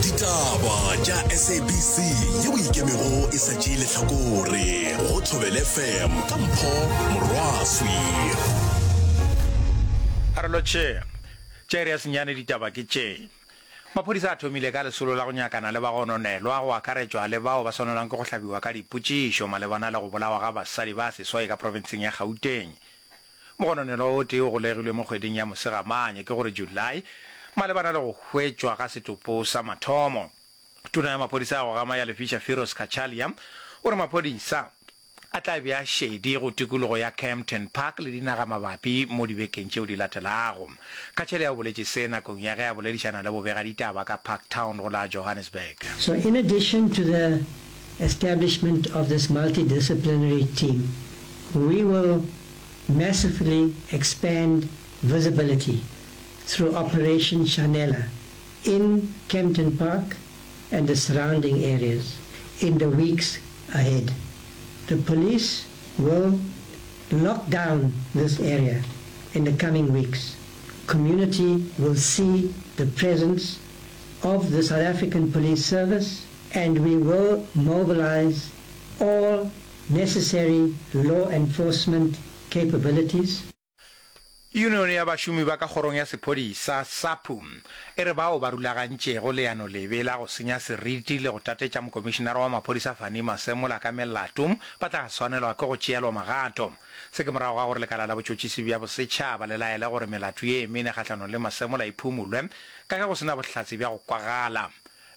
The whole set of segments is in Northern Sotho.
Ditaba tša SABC yeo e ikemego e sa tšee lehlakore go Thobela FM ka Mpho Morwaswi. A re lotšhe. Tša iri ya senyane ditaba ke tše. Maphodisa a thomile ka lesolo la go nyakana le bagononelwa go akaretšwa le bao ba swanelwang ke go hlabiwa ka dipotšišo malebana le go bolawa ga basadi ba seswai ka profenseng ya Gauteng. Mogononelwa o tee o golegilwe mo kgweding ya Mosegamanye, ke gore July, malebana le go hwetšwa ga setopo sa mathomo. Tona ya maphodisa ya go gama ya lefiša Firoz Cachalia o re maphodisa a tla bea šedi go tikologo ya Kempton Park le dinagamabapi mo dibekeng tšeo di latelago. Cachalia o boletše se nakong ya ge a boledišana le bobegaditaba ka Parktown go la Johannesburg. So in addition to the establishment of this multidisciplinary team, we will massively expand visibility through Operation Shanela in Kempton Park and the surrounding areas in the weeks ahead. The police will lock down this area in the coming weeks. Community will see the presence of the South African Police Service and we will mobilize all necessary law enforcement capabilities. Yunione ya bašomi ba ka kgorong ya sephodisa, SAPU, e re bao ba rulagantšego leano lebe la go senya seriti le go tatetša mokomišenara wa maphodisa Fannie Masemola ka melato ba tla swanelwa ke go tšeelwa magato. Se ke morago ga gore lekala la botšhotšhisi bja bosetšhaba le laele gore melato ye mene kgahlanong le Masemola e phumulwe ka ge go se na bohlatse bja go kwagala.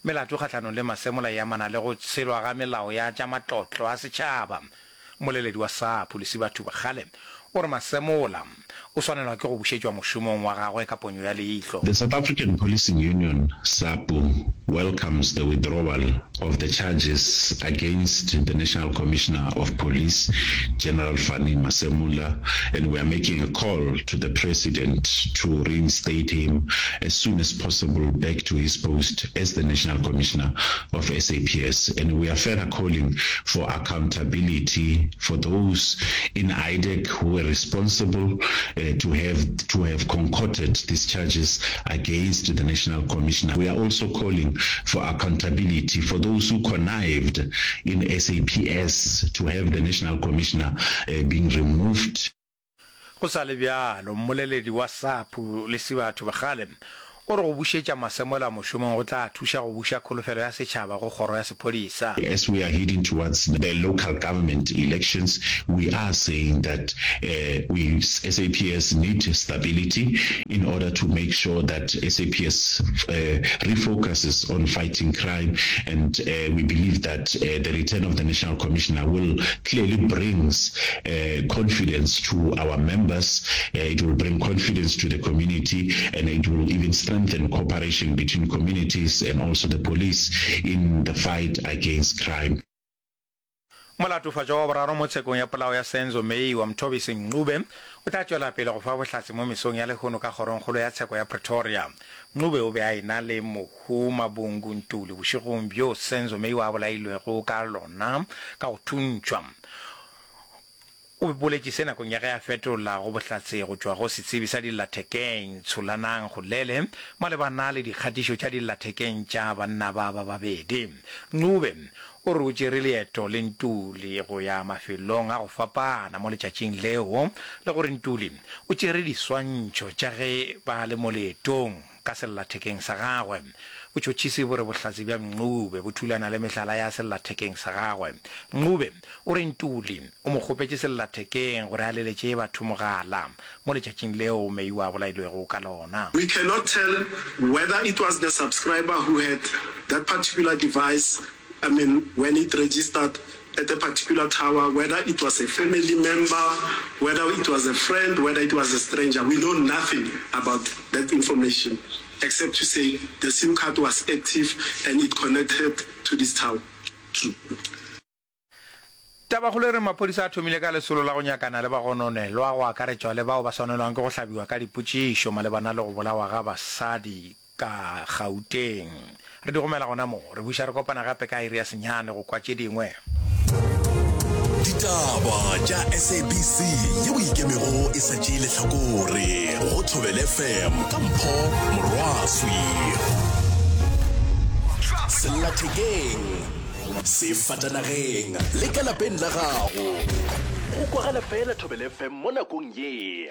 Melato kgahlanong le Masemola e amana le go tshelwa ga melao ya tša matlotlo a setšhaba. Mmoleledi wa SAPU, Lesiba Thubakgale, o re Masemola o swanelwa ke go bušetšwa mošomong wa gagwe ka ponyo ya leihlo. The South African Policing Union, SAPU, welcomes the withdrawal of the charges against the National Commissioner of Police, General Fannie Masemola, and we are making a call to the President to reinstate him as soon as possible back to his post as the National Commissioner of SAPS. And we are further calling for accountability for those in IDAC who were responsible uh, to have to have concocted these charges against the National Commissioner. We are also calling for accountability for those who connived in SAPS to have the National Commissioner uh, being removed. Go sa le bjalo, mmoleledi wa SAPU, Lesiba Thobakgale, o re go bušetša Masemola mošomong go tla thuša go buša kholofelo ya setšhaba go kgoro ya sephodisa. As we are heading towards the local government elections, we are saying that we, SAPS, need stability in order to make sure that SAPS refocuses on fighting crime and we believe that the return of the National Commissioner will clearly brings confidence to our members, it will bring confidence to the community and it will even strengthen cooperation between communities and also the police in the fight against crime. Molatofatšwa wa boraro mo tshekong ya polao ya Senzo Meyiwa, Mthobisi Ncube, o tla tšwela pele go fa bohlatse mo mesong ya lehono ka Kgorongkgolo ya Tsheko ya Pretoria. Ncube o be a e-na le mohu Mabungu Ntuli bošegong bjo Senzo Meyiwa a bolailwego ka lona ka go thuntšhwa. O boletše se nakong ya ge a fetola go bohlatse go tšwa go setsebi sa dillathekeng Tsholanang Golele malebana le dikgatišo tša dillathekeng tša banna ba ba babedi. Ncube o re o tšere leeto le Ntuli go ya mafelong a go fapana mo letšatšing leo le gore Ntuli o tšere diswantšho tša ge ba le mo leetong. ka sellathekeng sa gagwe. Botšhotšhisi bo re bohlatse bja Ncube bo thulana le mehlala ya sellathekeng sa gagwe. Ncube o re Ntuli o mo kgopetše sellathekeng gore a leletše batho mogala mo letšatšing leo Meyiwa a bolailwego ka lona. We cannot tell whether it was the subscriber who had that particular device, I mean when it registered at a particular tower, whether it was a family member, whether it was a friend, whether it was a stranger. We know nothing about that information except to say the SIM card was active and it connected to this tower. True. Tabakgolo e re maphodisa a thomile ka lesolo la go nyakana le bagononelwa go akaretšwa le bao ba swanelwang ke go hlabiwa ka dipotšišo malebana le go bolawa ga basadi ka Gauteng. Re di gomela gona mo. Re buša re kopana gape ka iri ya senyane go kwa tše dingwe. Ditaba tša SABC yeo e ikemego e sa tšee lehlakore go Thobela FM ka Mpho Morwaswi. Sellathekeng, sefatanageng le ka lapeng la gago. Go kwagala fela Thobela FM mo nakong ye.